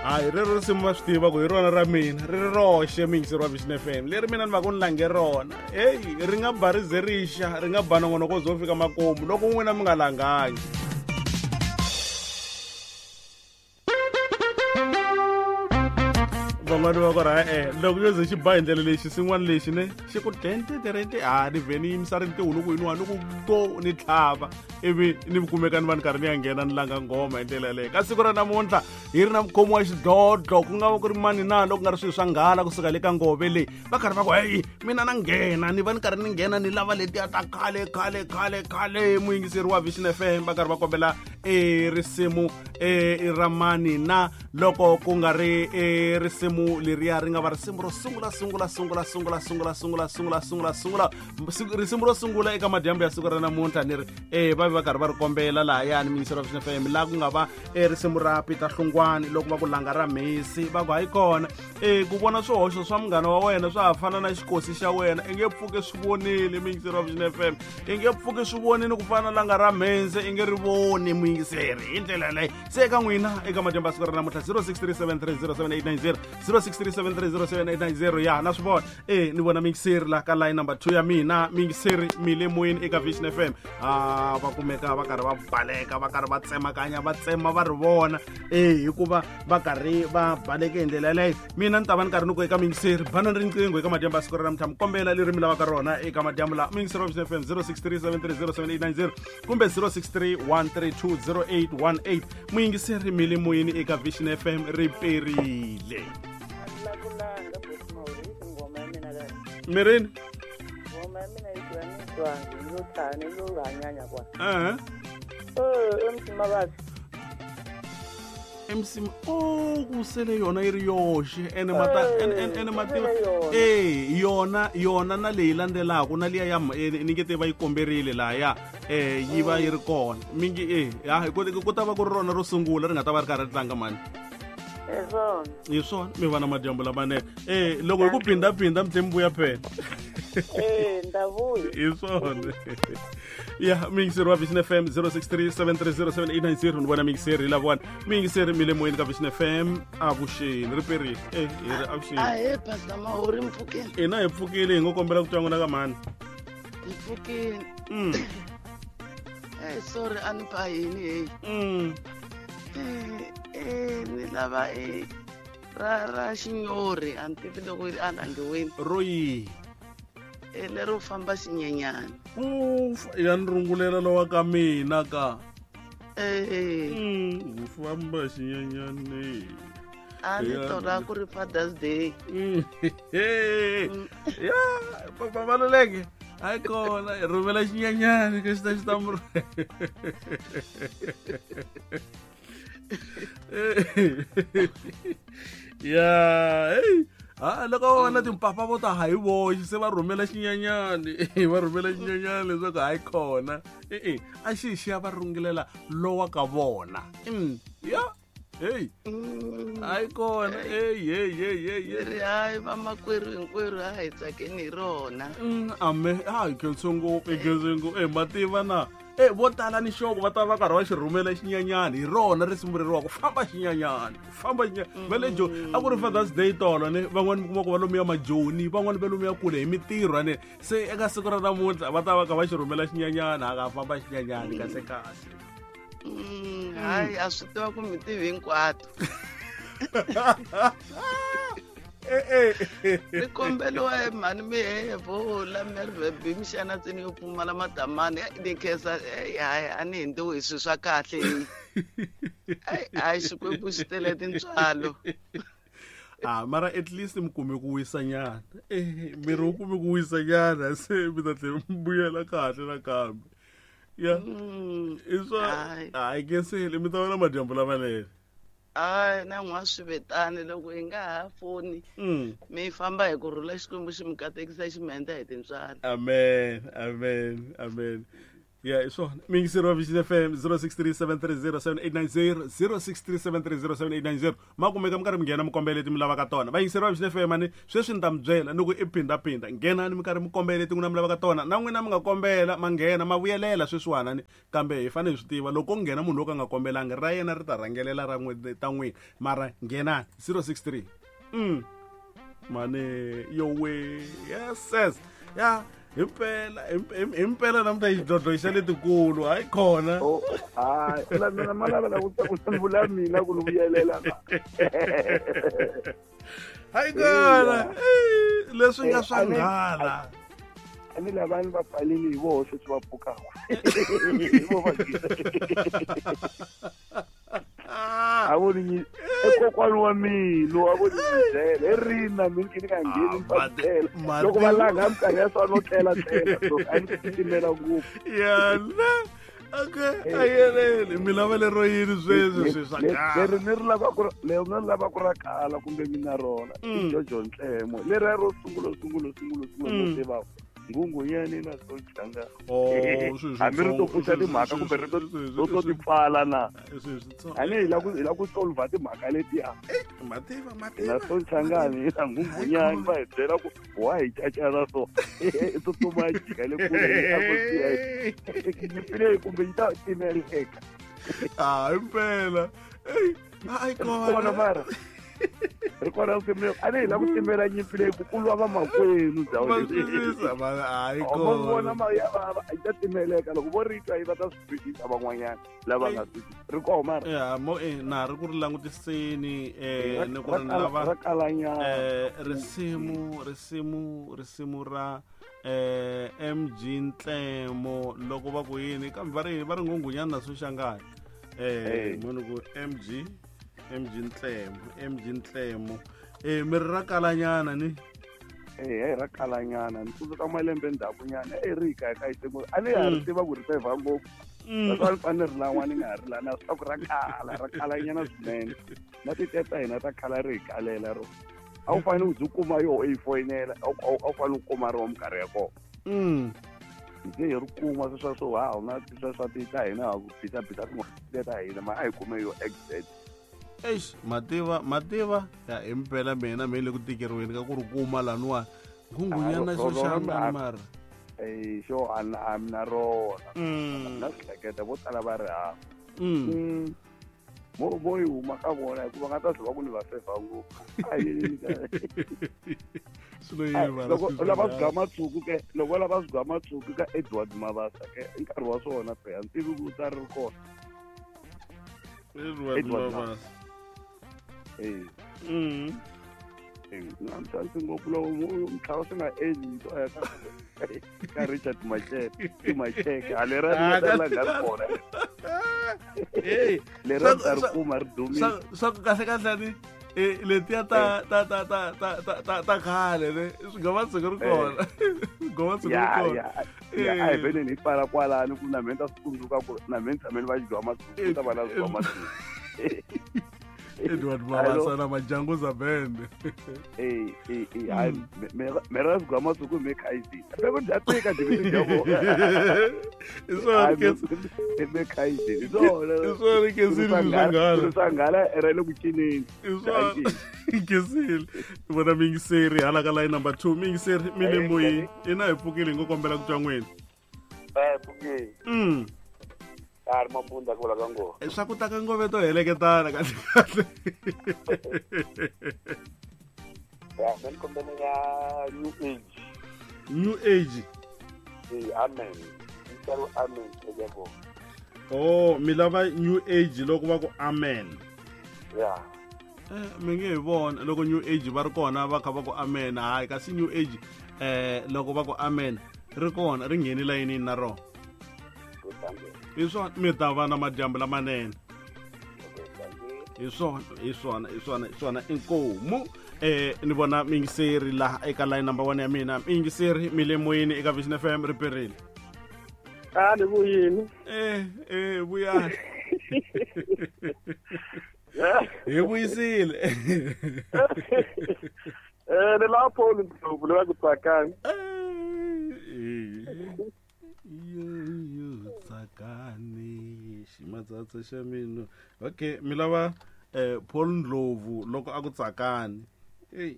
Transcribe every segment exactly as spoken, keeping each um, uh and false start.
Hayi rero risimu va swi tiva ku hi rona ra mina ri ri roxe muyingiseri wa Vision F M leri mina ni va ku ni lange rona. Heyi ri nga ba ri ze ri xa ri nga ba nongonoko zo fika makumu loko n'wina mi nga langangi. Van'wani va ku ri e-e loko yo ze xi ba hi ndlela leyi xisin'wana lexi ne xi ku tenteterente ha ni vhe ni yimisa rintiho loko yiniwa ni ku go ni tlhava ivi ni kumeka ni va ni karhi ni ya nghena ni langa nghoma hi ndlela yaleyo. Ka siku ra namuntlha hi ri na mukhomi wa xidlodlo ku nga va ku ri mani na loko ku nga ri swilo swa nghala kusuka le ka ngove leyi va karhi va ku heyi mina na nghena ni va ni karhi ni nghena ni lava letiya ta khale khale khale khale. Muyingiseri wa Vision F M va karhi va kombela e risimu e ra mani na loko ku nga ri e risimu leriya ri nga va risimu ro sungula sungula sungula sungula sungula sungula sungula sungula sungula risimu ro sungula eka madyambu ya siku ra namuntlha ni ri e va va karhi va ri kombela lahayani muyingiseri wa Vision F M laha ku nga va e risimu ra Peter Hlungwani loko va ku langa ra mhisi va ku hayi kona e ku vona swihoxo swa munghana wa wena swa ha fana na xikosi xa wena i nge pfuki swi vonile muyingiseri wa Vision F M i nge pfuki swi vonile ku fana na langa ra mhisi i nge ri voni muyingiseri hi ndlela yaleyo. Se eka n'wina eka madyambu ya siku ra namuntlha zero six three seven three zero seven eight nine zero zero six three seven three zero seven eight nine zero ya na swi vona e ni vona muyingiseri la ka line number two ya mina muyingiseri mi le moyeni eka Vision F M a va kumeka va karhi va baleka va karhi va tsemakanya va tsema va ri vona e hikuva va karhi va baleke hi ndlela yaleyo. Mina ni ta va ni karhi ni ku eka muyingiseri banani riqingho eka madyambu ya siku ra namuntlha mi kombela leri mi lavaka rona eka madyambu laha muyingiseri wa Vision F M zero six three seven three zero seven eight nine zero kumbe zero six three one three two zero eight one eight. Muyingiseri mi le moyeni eka Vision F M ri perile. Mirini eh M C o ku sele yona yi ri yoxe ene mata ene ene mativa eh yona yona na leyi landzelaka na liya ya ni nge te va yi komberile lahaya eh yi va yi ri kona mingi eh ya ku ku ta va ku ri rona ro sungula ri nga ta va ri karhi ri tlanga mani hi swona mi va na madyambu lamanene eh loko hi ku phindaphinda mi tlhe mi vuya phela eh ndavuya hi swona. Ya muyingiseri wa Vision F M zero six three seven three zero seven eight nine zero ni vona muyingiseri lavona muyingiseri mi le moyeni ka Vision F M avuxeni ri perile eh hi ri avuxeni. Ahee Pastor Mahori mpfukeni ina hi pfukile hi ngo kombela ku twa n'wina ka mhani hi pfukile. Mm. Eh sorry a ni ba yini hey. Mm. Eh eh ni lava e ra ra xinyori a ni tivi loko a langiwini ro yihi e lero famba xinyenyana ya ni rungulela lowa ka mina ka eh mm, u famba xinyenyani a ni tola ku ri Father's Day. Ya papa Maluleke hayi kona hi rhumela xinyenyani ka xi ta xi ta mu ya hey ha loko va vona timpapa vo ta hayi voxe se va rhumela xinyenyani va rhumela xinyenyani leswaku hayi kona e-e a xi xi ya va rungulela lowa ka vona ya hey hayi kona hey hey hey hey ri hayi vamakwerhu hinkwerhu a hi tsakeni hi rona. Ame a hi khense ngopfu hi khense ngopfu e mativa na e vo tala ni xoko va ta va karhi va xi rhumela xinyenyani hi rona risimu reriwa ku famba xinyenyani famba xinyenyani va le Joni a ku ri Father's Day tolo ne van'wani mi kuma ku va lomuya majoni van'wani va lomuya kule hi mitirho ane se eka siku ra namuntlha va ta va kha va xi rhumela xinyenyani a ka famba xinyenyani kahle kahle. Hayi a swi tiva ku mi tivi hinkwato. Ri kombeliwa hi mhani mihevo la Merwe mixana tsini yo pfumala madamani ni khensa hayi a ni hindziwi hi swilo swa kahle hayi Xikwembu xi tele tintswalo. Ah mara at least mi kume ku wisa nyana eh miri wu kume ku wisa nyana se mi ta tlhela mi vuyela kahle nakambe. Ya i swa hayi kenseli mi ta vona madyambu lamanene. Hayi na n'wa swi vetani loko hi nga ha foni mi famba hi ku rhula Xikwembu xi mi katekisa xi mi endla hi tintswalo. Amen amen amen. Ya, hi swona. Miyingiseri wa Vision F M zero six three seven three zero seven eight nine zero, zero six three seven three zero seven eight nine zero. Ma kumeka mi karhi mi nghena mi kombela leti mi lavaka tona. Vayingiseri wa Vision F M ani sweswi ni ta mi byela ni ku i phindaphinda. Nghenani mi karhi mi kombela leti n'wina mi lavaka tona. Na n'wina mi nga kombela ma nghena ma vuyelela sweswiwani ni kambe hi fanele hi swi tiva loko ku nghena munhu wo ka nga kombelangi ra yena ri ta rhangelela ra n'wina ta n'wina. Mara nghenani zero six three. Mm. Mane yowe. Yes, yes. Ya. Himpela himpela namuntlha xidlodlo xa letikulu hayi khona. Oh, hayi la mina ma lava ku ku vula mina ku ni vuyelela. Hayi kona. Leswi nga swa nghala. A ni lavani va pfalile hi voho sweswi va pfukaka. Hi vo va a vo ni ekokwani wa mina a vo ni byela hi rina mina ni nga ngheni ni va byela loko va langa minkarhi ya swa no tlela tlela so a ni titimela ngopfu. Yana okay ayelele mi lava lero yini sweswi swi swa kahle leri ni ri lava ku leri ni ri lava ku ra kala kumbe mina rona i Jojo Ntlemo leri ro sungula sungula sungula sungula no tiva Ngungunyani na Sochanga. Oh, swi hambi ri to pfuxa timhaka kumbe ri to to ti pfala na. A ni hi la ku hi la ku solve timhaka letiya. Mativa mativa. Na Sochangani na Ngungunyani va hi byela ku wa hi cacana so. I tsutsuma yi jika le kule a ku tiya. Nyimpi leyi kumbe yi ta timeleka. Ah, impela. Ey, hayi kona mara. Ri kona risimu a ni hi la ku timela nyimpi leyi ku kulwa vamakwenu ndhawu leyi. Vo vona ma ya vava yi ta timeleka loko vo ri twa yi va ta swi twisisa van'wanyana lava nga twisisi. Ri koho mara? Ya, mo eh na ri ku ri langutiseni eh ni ku ri lava ra kalanyana. Eh risimu risimu risimu ra eh M G Ntlemo loko va ku yini kambe va ri va ri Ngungunyana na Soshangana. Eh munhu ku M G M G Ntlemo M G Ntlemo eh mi ri ra kalanyana ni eh ra kalanyana ni tsundzuka malembe ndzhaku nyana eh ri ka ka yitimo a ni ha ri tiva ku ri fevha ngopfu a ni fanele ri lan'wa ni nga ha ri lana swa ku ra kala ra kalanyana swinene na titeta hina ta khala ri hi kalela ro a wu fanele u byi kuma yo i foyinela a wu fanele u kuma ro minkarhi ya kona hi hi ri kuma sweswa swo ha na sweswa ti ta hina ha ku bisa bisa tin'wana ta hina ma a hi kume yo exact. Eish, mativa mativa ya impela mina me le ku tikeriweni ka ku ri kuma laniwa Ngungunyana Soshangana mara eh xo a a mina rona na hleketa vo tala va ri hava mo vo yi huma ka vona hikuva nga ta zwa va ku ni va fevha ngopfu a yi loko lava swigama tshuku ke loko lava swigama tshuku ka Edward Mabasa ke i nkarhi wa swona phela ni tivi ku ta ri kona Edward Mabasa. Eh. Mm. Eh, na mtsansi ngopfu loko mtlhawa swi nga endli to ya ka ka Richard Macheke, i Macheke, a lera ri ta la nga ri kona. Eh, lera ta ri kuma ri dumile. Swa ku kahle kahle ni eh letiya ta ta ta ta ta ta ta khale ne swi nga va tsiko ri kona. Gova tsiko ri kona. Ya, a hi vele ni pfala kwalano ku na mina ta swi tsundzuka ku na mina tshame ni va xigwa matsuku ta va na xigwa matsuku. Edward Mabasa na Majanguza Band. Eh eh eh hayi me ra xigwa matsuku me khaizini. Be ku dya tika dyi dya vo. I swona ke me khaizini. Swona. I swona ke sile nghala. Swa nghala ra le ku cineni. I swona ke sile. Vona mingiseri hala ka line number two mingiseri mi le moyeni. Ina hi pfukile ngo kombela ku twa n'wina. Eh pfukile. Mm. A ri mabunda ku vula ka ngoma. Swa ku ta ka ngove to heleketana kahle kahle. Ya, ni kombela ya New Age. New Age. Eh, amen. Ni amen eka kona. Oh, mi lava New Age loko va ku amen. Ya. Eh, mi nge hi vona loko New Age va ri kona va kha va ku amen hayi kasi New Age eh loko va ku amen ri kona ri ngheni layinini na rona. Hi swona mi ta va na madyambu lamanene. Hi swona hi swona hi swona hi swona inkomu eh ni vona mingiseri laha eka line number one ya mina mingiseri mi le moyeni eka Vision F M ri perile. A ni vuyini. Eh eh vuyani. Hi vuyisile. Eh ni lapho ni ndlovu la ku tsakani. Eh. Yo yo Tsakani ximatsatsa xa mina. Okay, mi lava eh Paul Ndlovu loko a ku tsakani. Hey.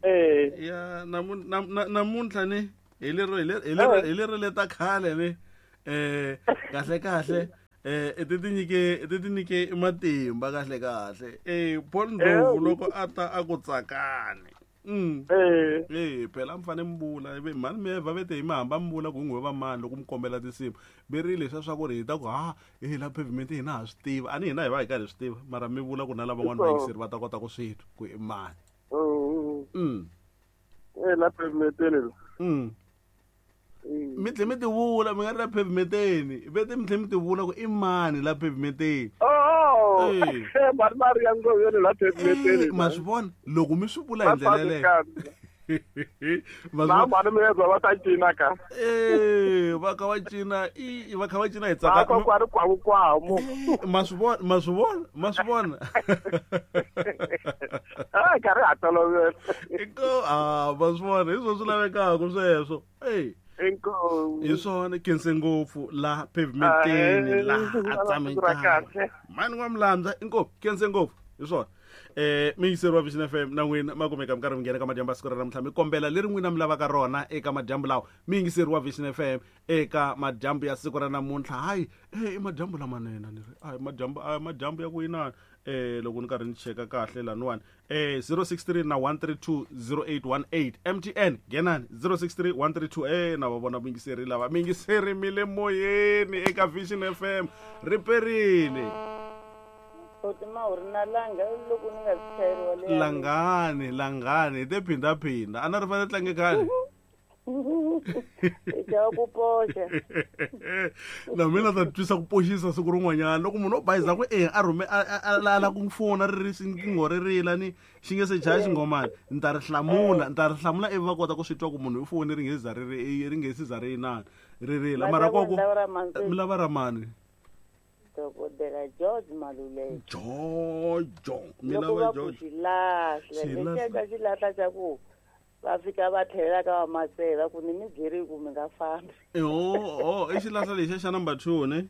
Ya namuntlha ni hi lero hi lero hi lero leta khale ni eh kahle kahle eh i ti tinyike i ti tinyike matimba kahle kahle. Eh Paul Ndlovu loko a ta a ku tsakani. Mm. Eh eh phela mfane mbula ibe mani me va vete hi mahamba mbula ku n'we va mani loko mi kombela tinsimu berile leswa swa ku ri hi ta ku ha eh la pavement hina ha swi tiva ani hina hi va hi karhi swi tiva mara mi vula ku na lava van'wana va yingiseri va ta kota ku swi twa ku i mani. Mm. Eh la pavement le. Mm. Mi tlhe mi ti vula mi nga ri la pavementeni vete mi tlhe mi ti vula ku i mani la pavementeni. Oh mani mari ya ngo yona la pavementeni. Ma swi vona loko mi swi vula hi ndlela yeleyo. Ma mani mi yeza va ta cina ka. Eh va kha va cina i va kha va cina hi tsaka. Va kwa kwa kwa mo. Ma swi vona ma swi vona ma swi vona. Ah karhi ha tolovela. Inko ah ma swi vona hi swona swi lavekaka sweswo. Ey. Inkomu. Hi swona khense ngopfu la pavementeni la a tsameka. Mani wa Mlandza inkomu khense ngopfu hi swona. Eh miyingiseri wa Vision F M na n'wina ma kumeka mi karhi mi nghena ka madyambu ya siku ra namuntlha mi kombela leri n'wina mi lavaka rona eka madyambu lawa miyingiseri wa Vision F M eka madyambu ya siku ra namuntlha. Hayi eh i madyambu lamanene ni ri hayi madyambu a madyambu ya ku yinani eh loko ni karhi ni cheka kahle laniwani eh zero six three na one three two zero eight one eight M T N nghenani zero six three one three two eh na va vona miyingiseri lava miyingiseri mi le moyeni eka Vision F M riperile. Langani langani hi te phindaphinda a na ri fanele tlange khale. Na mina ta twisa ku poxisa siku rin'wanyana loko munhu o bayiza ku e a rhume a la ku fona ri ri riqingho ri rila ni xi nge se chaya xingomani ni ta ri hlamula ni ta ri hlamula ivi va kota ku swi twa ku munhu i foni ri nge za ri ri nge se za ri inani ri rila mara koko mi lava ra mani. Dokodela George Maluleke. Jojo mi lava George. Xilahla lexi xilahla xa ku va fika va tlhelela ka vamasela ku ni mi byeri ku mi nga fambi. Oh oh i xilahla lexi xa number two ne?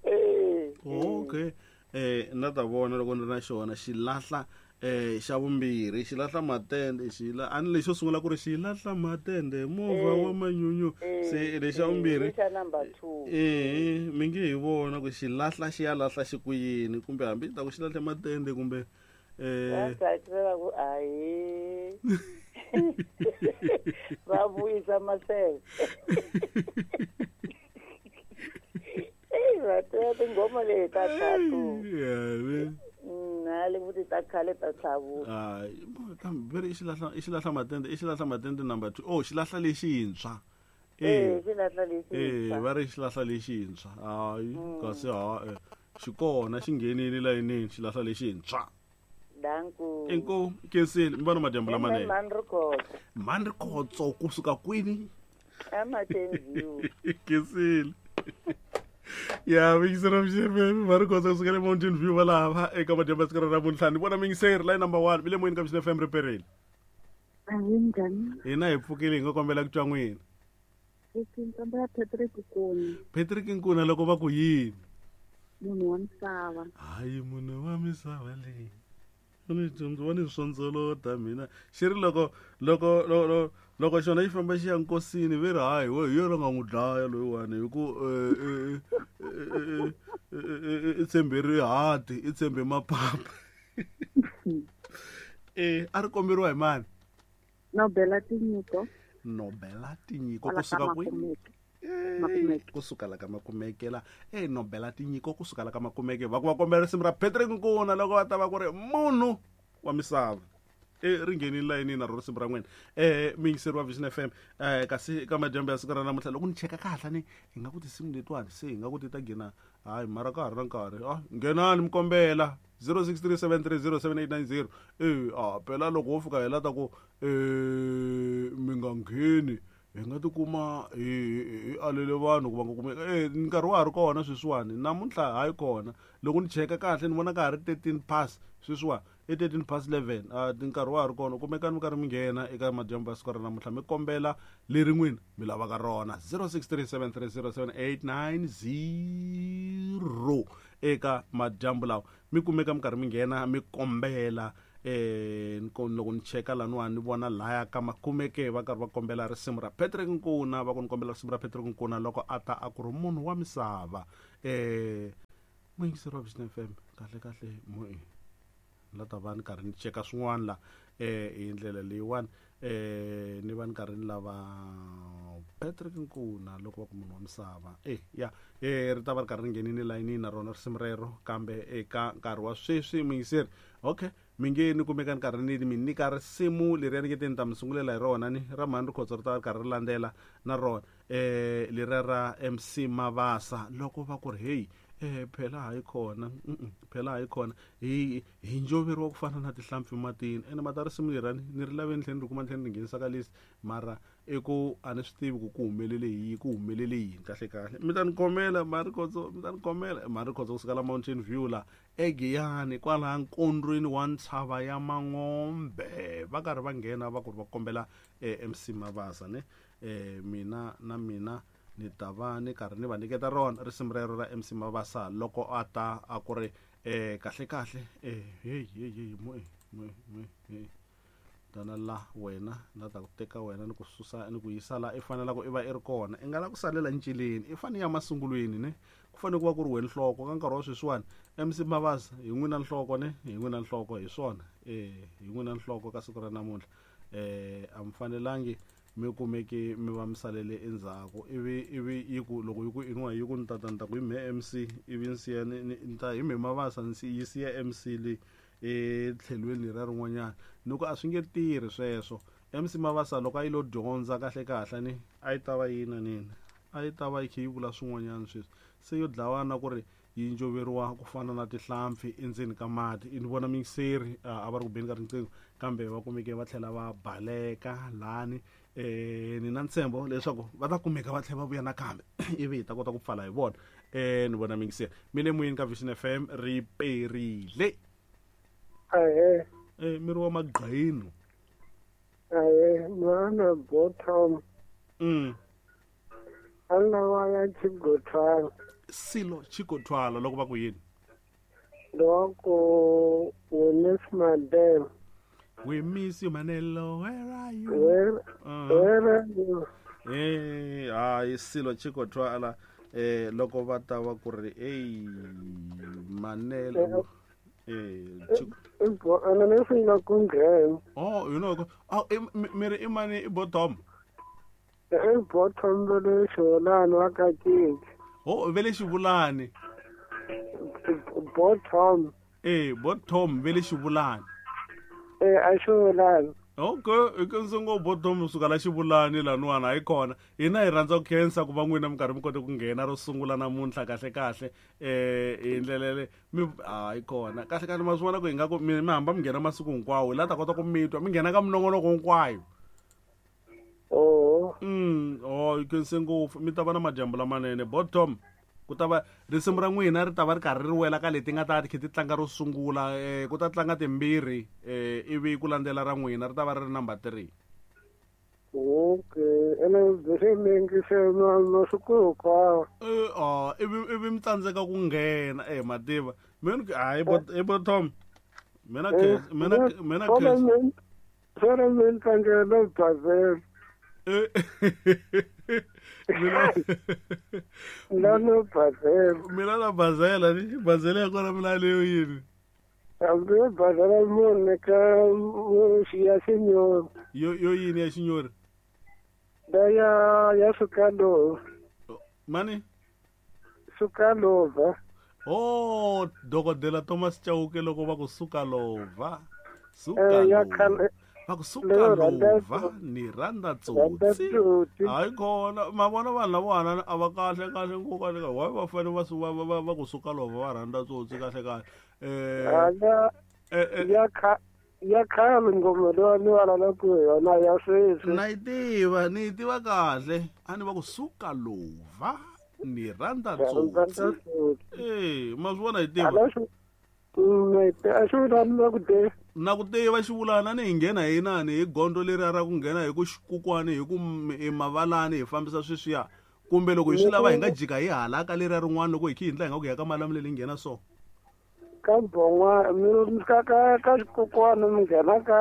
Eh. Okay. Eh na ta vona loko ni ri na xona xilahla eh xa vumbirhi xilahla matende xila ani lexo sungula ku ri xilahla matende movha wa manyunyu se lexa vumbirhi xa number two eh mi nge hi vona ku xilahla xi ya lahla xi ku yini kumbe hambi ta ku xilahla matende kumbe eh va ku ayi va vuyisa masele. Eh va ta tingoma leti ta tatu. Yeah. Na le vuti ta khale ta tlhavuka. Hayi kambe veri i xilahla i xilahla matende i xilahla matende number two. Oh xilahla lexintshwa. Eh xilahla lexintshwa. Eh va ri xilahla lexintshwa. Hayi kasi ha xi kona xi nghenile layinini xilahla lexintshwa. Danku. Inkomu kensile mi vona madyambu lamanene. Mani Rikhotso. Mani Rikhotso kusuka kwini? Mountain View. Kensile. Ya miyingiseri wa Vision F M va ri kotsa kusuka le Mountain View va lava eka madyambu ya siku ra namuntlha ni vona miyingiseri line number one mi le moyeni ka Vision F M riperile. Hina hi pfukile hi nga kombela ku twa n'wina. Patrick Nkuna. Patrick Nkuna loko va ku yini? Munhu wa misava. Hayi munhu wa misava leyi. Ni dyondza ni swondzolota mina xi ri loko loko loko loko xona xi famba xi ya nkosini ve ri hayi we hi yona nga n'wi dlaya loyiwani hi ku i tshembe rihati i tshembe mapapa. Eh a ri komberiwa hi mani? Nobela Tinyiko. Nobela Tinyiko kusuka kwini? Kusuka la ka Makumeke la eh Nobela Tinyiko kusuka la ka Makumeke va ku va kombela risimu ra Patrick Nkuna loko va ta va ku ri munhu wa misava. Eh ri nghenile layinini na ro risimu ra n'wina. Eh miyingiseri wa Vision F M eh kasi ka madyambu ya siku ra namuntlha loko ni cheka kahle ni hi nga ku tinsimu letiwani se hi nga ku ti ta nghena hayi mara ka ha ri na nkarhi ah nghenani mi kombela zero six three seven three zero seven eight nine zero eh ah phela loko wo fika hi la ta ku eh mi nga ngheni hi nga tikuma hi hi alele vanhu ku va nga kumeka eh nkarhi wa ha ri kona sweswiwani namuntlha hayi kona loko ni cheka kahle ni vona ka ha ri thirteen past sweswiwani i thirteen past eleven a nkarhi wa ha ri kona kumekani mi karhi mi nghena eka madyambu ya siku ra namuntlha mi kombela leri n'wina mi lavaka rona zero six three seven three zero seven eight nine zero eka madyambu lawa mi kumeka mi karhi mi nghena mi kombela eh loko ni cheka laniwani ni vona laya ka makumeke va karhi va kombela risimu ra Patrick Nkuna va ku ni kombela risimu ra Patrick Nkuna loko a ta a ku ri munhu wa misava eh muyingiseri wa Vision F M kahle kahle mo la ta va ni karhi ni cheka swin'wana la eh hi ndlela leyiwani eh ni va ni karhi ni lava Patrick Nkuna loko va ku munhu wa misava eh ya eh ri ta va ri karhi ri nghenini layinini na rona risimu rero kambe eka nkarhi wa sweswi muyingiseri okay mi nge ni kumeka ni karhi ni mi nyika risimu leriya ni nge te ni ta mi sungulela hi rona ni ra mhani Rikhotso ri ta va ri karhi ri landzela na rona eh leriya ra M C Mavasa loko va ku ri hey eh phela hayi khona phela hayi khona hi hi njoveriwa ku fana na tihlampfi matini ene mata risimu lerani ni ri laveni tlhela ni ri kuma tlhela ni nghenisa ka list mara i ku a ni swi tivi ku ku humelele yini ku humelele yini kahle kahle mi ta ni khomela mhani Rikhotso mi ta ni khomela mhani Rikhotso kusuka la Mountain View la eGiyani kwalaha nkondlweni wa ntshava ya Mangombe va karhi va nghena va ku ri va kombela M C Mavasa ne eh mina na mina ni ta va ni karhi ni va nyiketa rona risimu rero ra M C Mavasa loko a ta a ku ri eh kahle kahle eh hey hey hey mo mo mo tana la wena na ta ku teka wena ni ku susa ni ku yisa la i fanela ku i va i ri kona i nga la ku salela ncileni i fanele ya masungulweni ne ku fanele ku va ku ri wena nhloko ka nkarhi wa sweswiwani M C Mavasa hi n'wina nhloko ne hi n'wina nhloko hi swona eh hi n'wina nhloko ka siku ra namuntlha eh a mi fanelangi mi kumeke mi va mi salele endzhaku ivi ivi yi ku loko yi ku inwa yi ku ni tata ni ta ku hi mhe M C ivi ni siya ni ta hi mhe Mavasa ni yi siya M C leyi etlhelweni ra rin'wanyana ni ku a swi nge tirhi sweswo M C Mavasa loko a yi lo dyondza kahle kahle ni a yi ta va yina nini a yi ta va yi kha yi vula swin'wanyana sweswi se yo dlawana ku ri yi njoveriwa ku fana na tihlampfi endzeni ka mati ni vona miyingiseri a va ri ku beni ka riqingho kambe va kumeke va tlhela va baleka lani eh ni na ntshembo leswaku va ta kumeka va tlhela va vuya nakambe ivi hi ta kota ku pfala hi vona eh ni vona miyingiseri mi le moyeni ka Vision F M ri perile ahe eh miri wa magqayino ahe mwana bottom mm alla wa ya Chigotwala silo Chigotwala loko va ku yini loko we miss Mandela we miss you Manelo where are you where, uh-huh. where are you eh hayi silo Chigotwala eh loko va ta va ku ri ey Manelo eh ana ne swi ku nghena oh you know oh mi ri i mani i bottom i bottom le xolani wa ka cinci oh vele xivulani bottom eh bottom vele xivulani eh a xivulani okay i ke ndzi ngo bottom suka la xivulani laniwani hayi kona hina hi rhandza ku khensa ku va n'wina mi karhi mi kote ku nghena ro sungula namuntlha kahle kahle eh hi ndlela le mi hayi kona kahle kahle ma swi vona ku hi nga ku mi mi hamba mi nghena masiku hinkwawo hi la ta kota ku mi twa mi nghena ka minongonoko hinkwayo oh mm oh yi khense ngopfu mi ta va na madyambu lamanene bottom ku ta va risimu ra n'wina ri ta va ri karhi ri wela ka leti nga ta ti kha ti tlanga ro sungula eh ku ta tlanga timbirhi eh ivi ku landzela ra n'wina ri ta va ri ri number three okay ene bese mi yingisela masiku hinkwawo eh ah ivi ivi mi tsandzeka ku nghena eh mativa mina hayi i bottom mina mina mina sore mi tlangela bazela mina mina bazela mina na bazela ni bazela ya kona mina leyo yini hambi bazela munhu ka ya xinyori yo yo yini ya xinyori da ya ya sukalova mani sukalova oh dokodela Thomas Chauke loko va ku sukalova sukalova va ku suka lova ni rhandza tsotsi hayi kona ma vona vanhu lavana a va kahle kahle ngopfu kahle kahle why va fanele va va va va ku suka lova va rhandza tsotsi kahle kahle eh ya kha ya khale ngoma leyi ni vulavulaka hi yona ya sweswi na yi tiva ni yi tiva kahle a ni va ku suka lova ni rhandza tsotsi eh ma swi vona yi tiva A xivulani na ku tiva. Na ku tiva xivulana ni hi nghena hi inani hi gondzo leri ra ku nghena hi ku xikukwani hi ku mavalani hi fambisa sweswiya kumbe loko hi swi lava hi nga jika hi hala ka leriya rin'wana loko hi khi hindla hi nga ku ya ka Malamulele hi nghena so. Ka Bon'wana mi ka ka ka xikukwani mi nghena ka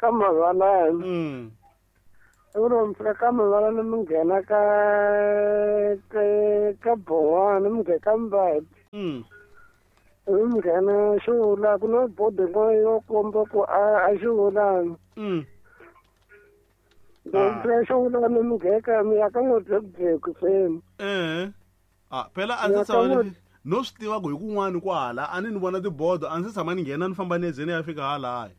ka mavalani. Mm. Ivi loko mi fika ka mavalani mi nghena ka ka Bon'wana mi nghena ka Mbati. Mm. Ivi mi nghena xivula ku na bodo yin'wana yo komba ku a a xivulani. Mm. Loko mi fika xivulani mi nghena mi ya ka N'wadzekudzeku seni. Eh. Ah, phela a ndzi tshama no swi tiva ku hi kun'wana kwahala a ni ni vona tibodo a ndzi tshama ni nghena ni famba ni ze ni ya fika halaya.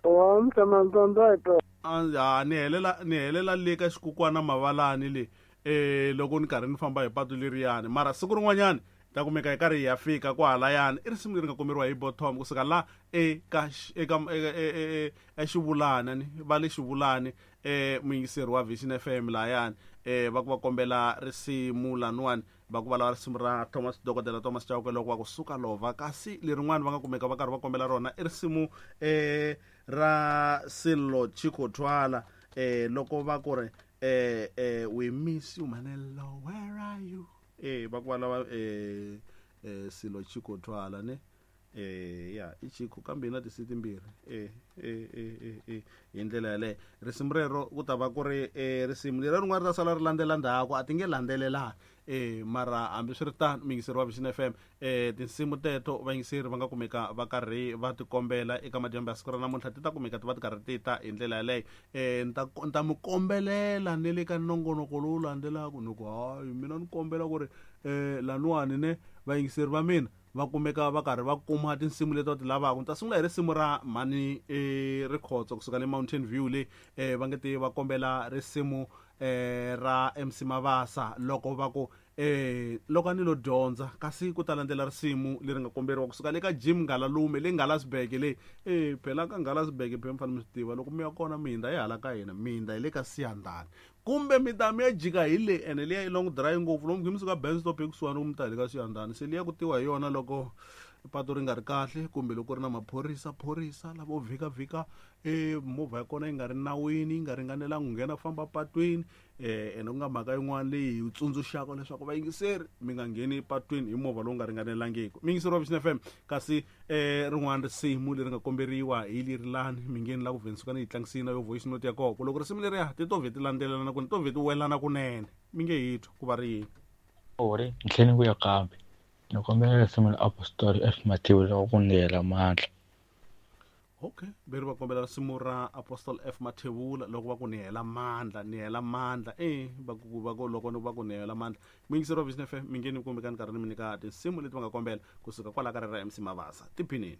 Wa mi tshama mi famba hi tona. A ni helela ni helela le ka xikukwana mavalani le eh loko ni karhi ni famba hi patu leriyani mara siku rin'wanyani ta kumeka hi karhi hi ya fika kwahalayani i risimu leri nga komberiwa hi Bottom kusuka la eka eka exivulana ni va le xivulani eh muyingiseri wa Vision F M layani eh va ku va kombela risimu laniwani va ku va lava risimu ra Thomas Dokodela Thomas Chauke loko va ku suka lova kasi lerin'wani va nga kumeka va karhi va kombela rona i risimu eh ra Sello Chicco Twala eh loko va ku ri eh eh we miss you Manelo where are you eh va ku va lava eh eh Sello Chicco Twala ne eh ya i Chicco kambe na tisi timbirhi eh eh eh eh hi ndlela yaleyo risimu rero ku ta va ku ri eh risimu leri rin'wana ri ta sala ri landzela ndzhaku a ti nge landzelelani eh mara hambiswiritano muyingiseri wa Vision F M eh tinsimu teto vayingiseri va nga kumeka va karhi va ti kombela eka madyambu ya siku ra namuntlha ti ta kumeka ti va ti karhi ti ta hi ndlela yaleyo eh ni ta ni ta mi kombelela ne le ka nongonoko lowu landzelaka ni ku hayi mina ni kombela ku ri eh laniwani ne vayingiseri va mina va kumeka va karhi va kuma tinsimu leti va ti lavaka ni ta sungula hi risimu ra mhani eh Rikhotso kusuka le Mountain View le eh va nge te va kombela risimu eh ra M C Mavasa loko va ku eh loko a ni lo dyondza kasi ku ta landzela risimu leri nga komberiwa kusuka le ka Jim Ngalalume le Ngalasberg le eh phela ka Ngalasberg phela mi fanele mi swi tiva loko mi ya kona mi hindza hi hala ka hina mi hindza hi le ka Siyandhani kumbe mi ta mi ya jika hi le ene liya i long drive ngopfu lomu mi suka Ben stop ekusuhani ku mi ta hi le ka Siyandhani se liya ku tiwa hi yona loko pato ri nga ri kahle kumbe loko ri na maphorisa phorisa lavo vhika vhika eh movha ya kona yi nga ri nawini yi nga ringanelanga ku nghena famba patwini eh ene ku nga mhaka yin'wana leyi hi tsundzuxaka leswaku vayingiseri mi nga ngheni patwini hi movha lowu nga ringanelangiki muyingiseri wa Vision F M kasi eh rin'wana risimu leri nga komberiwa hi lerilani mi ngheni la ku vhensuka ni yi tlangisini yo voice note ya kona loko risimu leriya ti to vhe ti landzelelana ku to vhe ti welana kunene mi nge hi twa ku va ri yini ori ntlheni ku ya kambe ni kombela risimu la Apostoli F Mathebula loko ku ni hela mandla. Okay veri va kombela risimu ra Apostle F Mathebula loko va ku ni hela mandla ni hela mandla eh va ku va ku loko va ku ni hela mandla muyingiseri wa Vision F M mi nge ni kumbe ka ni karhi ni mi nyika tinsimu leti va nga kombela kusuka kwala ka ra M C Mavasa tiphinini.